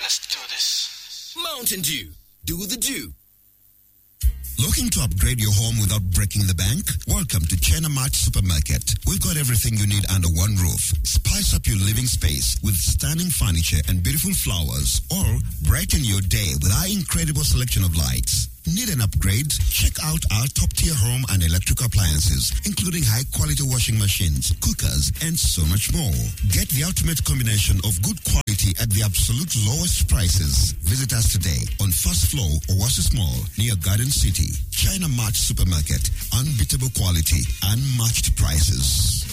Let's do this. Mountain Dew. Do the dew. Looking to upgrade your home without breaking the bank? Welcome to China Mart Supermarket. We've got everything you need under one roof. Spice up your living space with stunning furniture and beautiful flowers, or brighten your day with our incredible selection of lights. Need an upgrade? Check out our top-tier home and electric appliances, including high-quality washing machines, cookers, and so much more. Get the ultimate combination of good quality at the absolute lowest prices. Visit us today on first floor, Oasis Mall, near Garden City. China Mart Supermarket. Unbeatable quality, unmatched prices.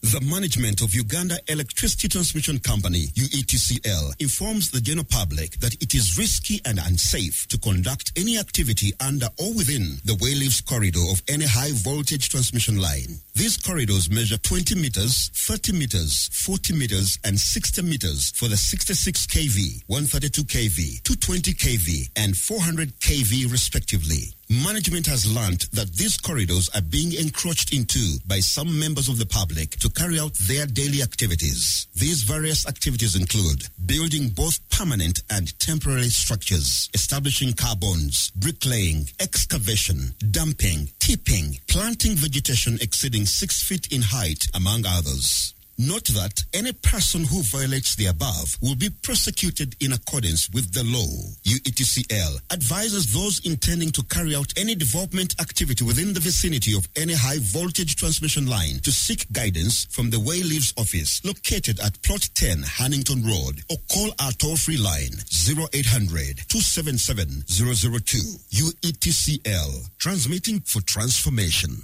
The management of Uganda Electricity Transmission Company, UETCL, informs the general public that it is risky and unsafe to conduct any activity under or within the Wayleaves corridor of any high voltage transmission line. These corridors measure 20 meters, 30 meters, 40 meters, and 60 meters for the 66 kV, 132 kV, 220 kV, and 400 kV respectively. Management has learnt that these corridors are being encroached into by some members of the public to carry out their daily activities. These various activities include building both permanent and temporary structures, establishing carbons, bricklaying, excavation, dumping, tipping, planting vegetation exceeding 6 feet in height, among others. Note that any person who violates the above will be prosecuted in accordance with the law. UETCL advises those intending to carry out any development activity within the vicinity of any high voltage transmission line to seek guidance from the Wayleaves office located at Plot 10 Hannington Road, or call our toll-free line 0800 277 002. UETCL, transmitting for transformation.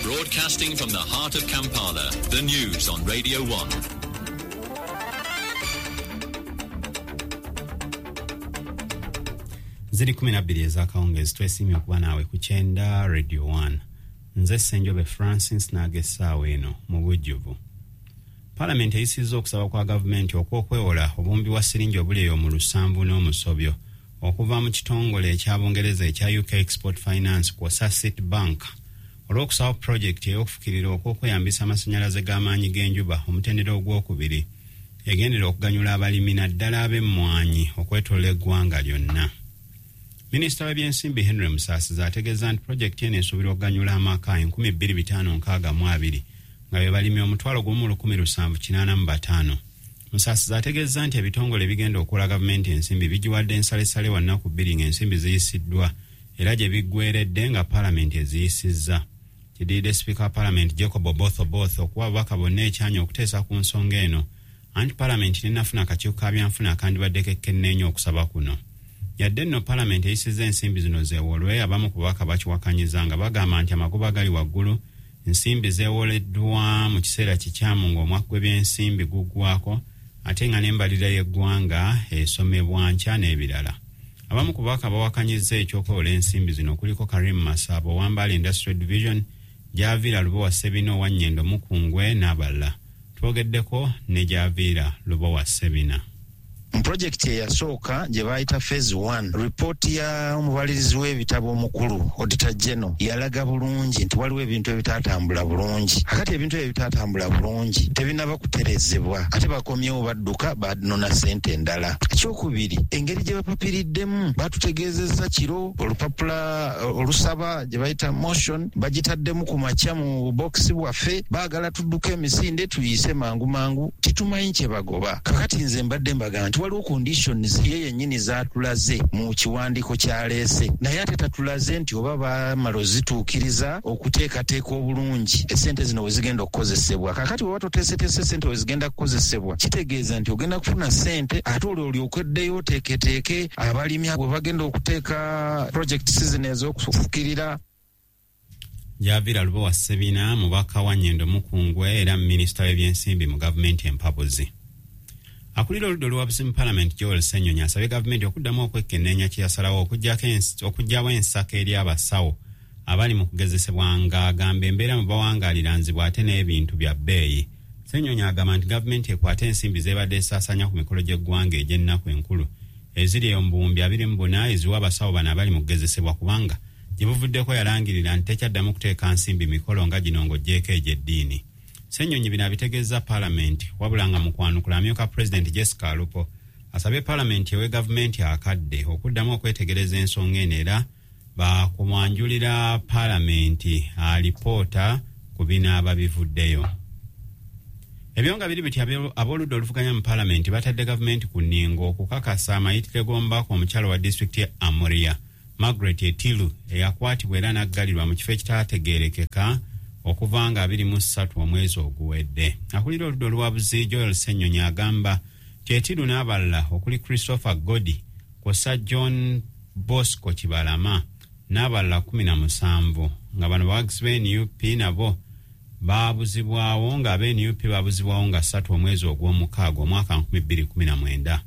Broadcasting from the heart of Kampala, the news on Radio 1. Ziri 12 ez'akawungeezi. Twesiimye okuba naawe ku kyenda Radio 1. Nze Ssenjobe Francis n'ag'essaawa eno mu bujjuvu. Palamenti eyisizza okusaba kwa gavumenti okw'okwewola obuwumbi bwa siringi obuli eyo mu lusanvu n'omusobyo okuva mu kitongole ekya Bungereza ekya UK Export Finance kwossa Citibank olw'okusaba pulojekiti ey'okufukirira okw'okweyambisa amasannyalaze g'amaanyi g'enjuba omutendera ogwokubiri egendera okuganyula abalimi naddala ab'emmwanyi okwetoola eggwanga lyonna. Minisita w'ebyensimbi Henry Musaasizi ategeeza nti pulojekiti eno esuubirwa okuganyula amaka 2562 nga be balimi 1,785. Musaasizi ategeeza nti ebitongole ebigenda okuwola gavumenti ensimbi bigiwadde ensalesale wa nnaku 2 ng'ensimbi ziyisiddwa era gye biggweredde nga paalamenti eziyisizza. Kiddiridde sipiika wa paalamenti Jacob Oboth Oboth okuwa ababaka bonna ekyanya okuteesa ku nsonga eno, anti paalamenti tennafuna akakiiko ka byanfuna akandibaddeko ekkenneenya okusaba kuno. Yadde nno paalamenti eyisizza ensimbi zino zeewolwe, abamu ku babaka bakiwakanyiza nga bagamba nti amagoba gali waggulu, nsimbi zeewoleddwa mu kiseera kikyamu ng'omwaka gw'ebyensimbi guggwako ate nga n'embalirira y'eggwanga esomebwa nkya n'ebirala. Abamu ku babaka bawakanyizza eky'okwewola ensimbi zino kuliko Karim Masaba owa Mbale Industrial Division, Javiira Lubowa Ssebina owa Nnyendo Mukungwe n'abalala. Twogeddeko ne Javiira Lubowa Ssebina. Mu pulojekiti eyasooka gye baayita phase 1, ripooti ya omubalirizi w'ebitabo omukulu Auditor General yalaga bulungi nti waliwo ebintu ebitaatambula bulungi. Akati ebintu ebyo ebitaatambula bulungi tebinnaba kuterezebwa, ate bakomyewo badduka banona ssente endala. Ekyokubiri, engeri gye bapapiriddemu batutegeezezza kiro olupapula olusaba gye bayita motion bagitaddemu ku makya mu bokisi bwaffe, baagala tudduke emisinde tuyise mangu mangu, titumanyi kye bagoba. Kakati nze mbadde mbagamba nti waliwo conditions ye yennyini zaatulaze mu kiwandiiko ky'aleese, naye ate tatulaze nti oba baamala ozituukiriza okuteekateeka obulungi essente zino we zigenda okukozesebwa. Kakati bw'oba toteeseteese ssente we zigenda kukozesebwa, kitegeeza nti ogenda kufuna ssente ate olwo olyoke oddeyo oteeketeeke abalimi bwe bagenda okuteeka project season ez'okufukirira. Javiira Lubowa Ssebina mubaka wa Nnyendo Mukungwe era minisita w'ebyensimbi mu gavumenti empabuzi. Akulira oludda oluwabuzi mu paalamenti Joel Ssenyonyi asabye gavumenti okuddamu okwekenneenya kye yasalawo okuggyawo ensako eri abasawo abali mu kugezesebwa ng'agamba embeera mu bawangaalira nzibu ate n'ebintu bya bbeeyi. Ssenyonyi agamba nti gavumenti ekwate ensimbi z'ebadde esaasaanya ku mikolo gy'eggwanga egy'ennaku enkulu eziri eyo mu buwumbi 24 eziwa abasawo bano abali mu kugezesebwa kubanga Gye buvuddeko yalangirira nti tekyaddamu kuteeka nsimbi mikolo nga gino ng'oggyeeko egy'eddiini. Ssennyonyi bino abitegeeza Paalamenti, wabula nga mu kwanukula amyuka Pulezidenti Jessica Alupo asabye Paalamenti ewe gavumenti akadde okuddamu okwetegereza ensonga eno, era bakumwanjulira Paalamenti alipoota ku binaaba bivuddeyo. Ebyo nga biri biti, ab'oludda oluvuganya mu Paalamenti batadde gavumenti ku nningo okukakasa amayitire g'omubaka omukyalo wa disitulikiti ye Amuria, Margaret Etilu, eyakwatibwa era n'aggalirwa mu kifo ekitaategeerekeka okuva nga 23 omwezi oguwedde. Akulira oludda oluwabuzi Joel Ssennyonyi agamba nti Etilu n'abalala okuli Christopher Godi kw'ossa John Bosco Kibalama n'abalala 17 nga bano bawagizi ba NUP nabo babuzibwawo, nga aba NUP babuzibwawo nga 3 omwezi ogw'omukaaga omwaka 2019.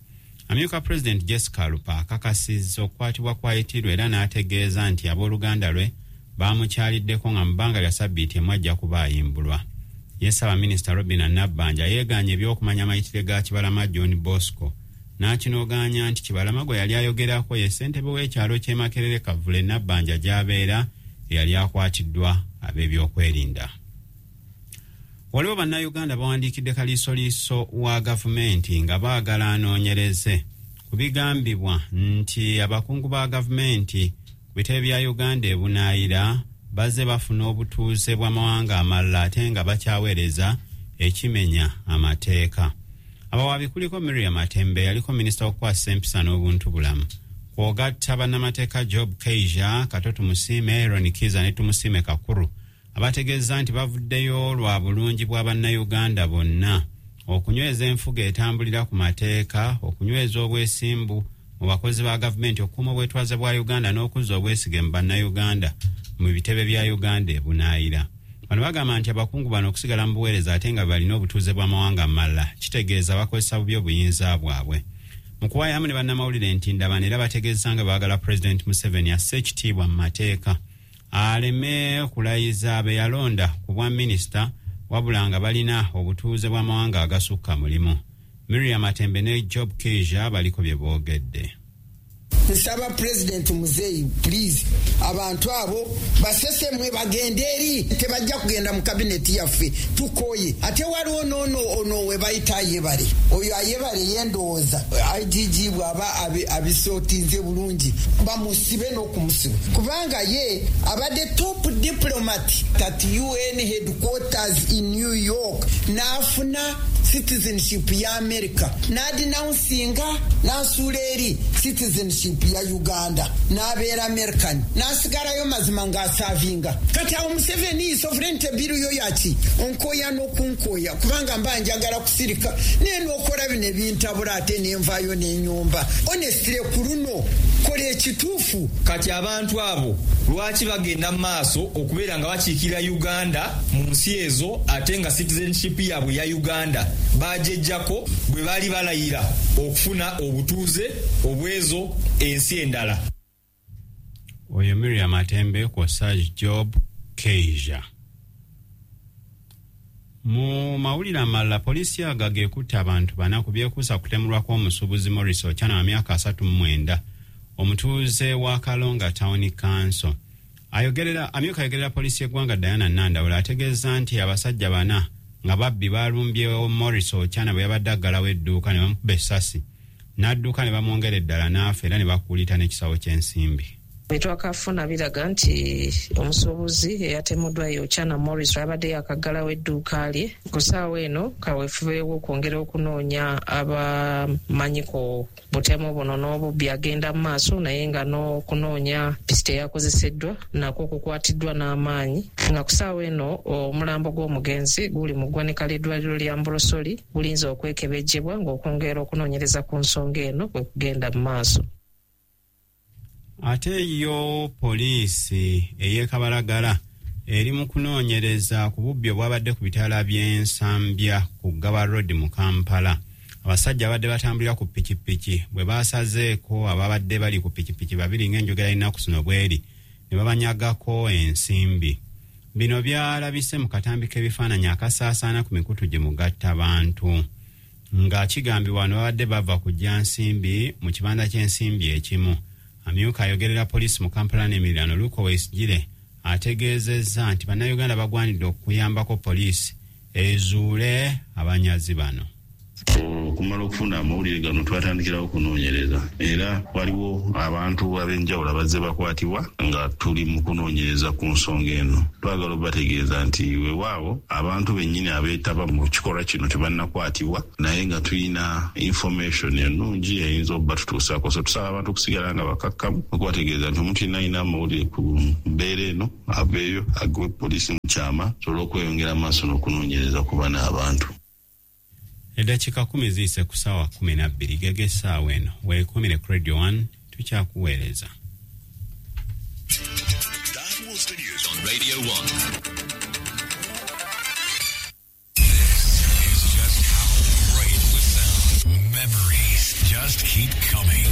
Amyuka Pulezidenti Jessica Alupo akakasizza okukwatibwa kwa Etiru era n'ategeeza nti abooluganda lwe bamukyaliddeko nga mu bbanga lya sabbiiti emu ajja kuba ayimbulwa. Ye Ssaabaminisita Robina Nabbanja yeegaanye ebyokumanya amayitire ga Kibalama John Bosco, n'akinogaanya nti Kibalama gwe yali ayogerako ye ssentebe w'ekyalo ky'e Makerere Kavule Nabbanja gy'abeera eyali akwatiddwa ab'ebyokwerinda. Waliwo Bannayuganda bawandiikidde kaliisoliiso wa gavumenti nga baagala anoonyereze ku bigambibwa nti abakungu ba gavumenti ku bitebe bya Uganda ebunaayira bazze bafuna obutuuze bw'amawanga amalala ate nga bakyaweereza, ekimenya amateeka. Abawaabi kuliko Miriam Matembe, yaliko minisita w'okukwasisa empisa n'obuntu bulamu, kw'ogatta bannamateeka Job Keija, Kato Tumusiime, Aaron Kiza ne Tumusiime Kakuru, abategeeza nti bavuddeyo lwa bulungi bwa Bannayuganda bonna, okunyweza enfuga etambulira ku mateeka, okunyweza obwesimbu mu bakozi ba gavumenti, okukuuma obwetwaze bwa Uganda n'okuzza obwesige mu Bannayuganda mu bitebe bya Uganda ebunaayira. Bano bagamba nti abakungu bano okusigala mu buweereza ate nga balina obutuuze bw'amawanga amalala kitegeeza bakozesa bubi obuyinza bwabwe. Mu kuwaayamu ne bannamawulire nti ndabano era bategeeza nga baagala Pulezidenti Museveni asse ekitiibwa mu mateeka, aleme kulayiza be yalonda ku bwa minisita wabula nga balina obutuuze bw'amawanga agasukka mulimu. Miriam Atembe ne Job Keija baliko bye boogedde. Nsaba Pulezidenti Muzeeyi, please, abantu abo basesemwe bagende eri, tebajja kugenda mu kabineti yaffe, tukooye. Ate waliwo noono ono we bayita Ayebare, oyo Ayebare yendowooza IGG bw'aba abisootinze bulungi bamusibe n'okumusiba, kubanga ye abadde top diplomat at UN headquarters in New York, n'afuna citizenship ya America, n'adenouncinga n'asuula eri citizenship ya Uganda, n'abeera American, n'asigalayo mazima ng'aservinga. Kati awo Museveni sovereignty bill yo yaki onkoya n'okunkoya, kubanga mba njagala kusirika naye n'okola bino ebintabula ate nenvaayo n'enyumba. Honestly, ku luno kola ekituufu. Kati abantu abo lwaki bagenda mu maaso okubeera nga bakiikirira Uganda mu nsi ezo ate nga citizenship yaabwe ya Uganda bajejjako bwe baali balayira okufuna obutuuze obwezo ensi endala? Oyo Miriam Atembe kw'ossa Job Keija. Mu mawulire amalala, poliisi y'Agaga ekutte abantu bana ku byekuusa kutemulwa kw'omusuubuzi Morris Ochana wa myaka 39, omutuuze wa Kalonga Town Council. Ayogerera amyuka ayogerera poliisi y'eggwanga Diana Nandawula ategeeza nti abasajja bana nga babbi balumbye Morris Ochana bwe yabadde aggalawo edduuka ne bamukuba essasi n'adduka ne bamwongera eddala n'afa, era ne bakuulita n'ekisawo ky'ensimbi. Byetwakafuna biraga nti omusuubuzi eyatemuddwa ye Ochana Morris, abadde yakaggalawo edduuka lye. Ku ssaawa eno kaweefube w'okwongera okunoonya abamanyi ku butemu buno n'obubbi agenda mu maaso, naye nga n'okunoonya pisita eyakozeseddwa nakwo kukwatiddwa n'amaanyi, nga ku ssaawa eno omulambo gw'omugenzi guli mu ggwanika ly'eddwaliro lya Mburosoli gulinza okwekebejjebwa ng'okwongera okunoonyereza ku nsonga eno kwe kugenda mu maaso. Ate yo poliisi ey'e Kabalagala eri mu kunoonyereza ku bubbi obwabadde ku bitaala by'Ensambya ku Gaba Road mu Kampala. Abasajja abadde batambulira ku pikipiki bwe basazeeko ababadde bali ku pikipiki babiri ng'enjogera y'ennaku zino bweri, ne babanyagako ensimbi. Bino byalabise mu katambi k'ebifaananyi akasaasaana ku mikutu gye mugatta bantu, nga kigambibwa bano babadde bava kujja nsimbi mu kibanda ky'ensimbi ekimu. Amyuka ayogerera poliisi mu Kampala n'emiriraano Luke Owoyesigyire ategeezezza nti bannayuganda bagwanidde okuyambako poliisi ezuule abanyazi bano. Okumala okufuna amawulire gano twatandikirawo okunoonyereza, era waliwo abantu ab'enjawulo abazze bakwatibwa nga tuli mu kunoonyereza ku nsonga eno. Twagala obategeeza nti weewaawo abantu bennyini abeetaba mu kikolwa kino tebannakwatibwa, naye nga tulina information ennungi eyinza okubatutuusaako. So tusaba abantu okusigala nga bakakkamu, okubategeeza nti omuntu yenna alina amawulire ku mbeera eno aveeyo agewe poliisi mu kyama tusobole okweyongera maaso n'okunoonyereza ku bano abantu. Eddakiika 10 ziyise ku ssaawa 12 gege essaawa eno. Weekumire ku Radio 1, tukyakuweereza. That was the news on Radio 1. This is just how great the sound. Memories just keep coming.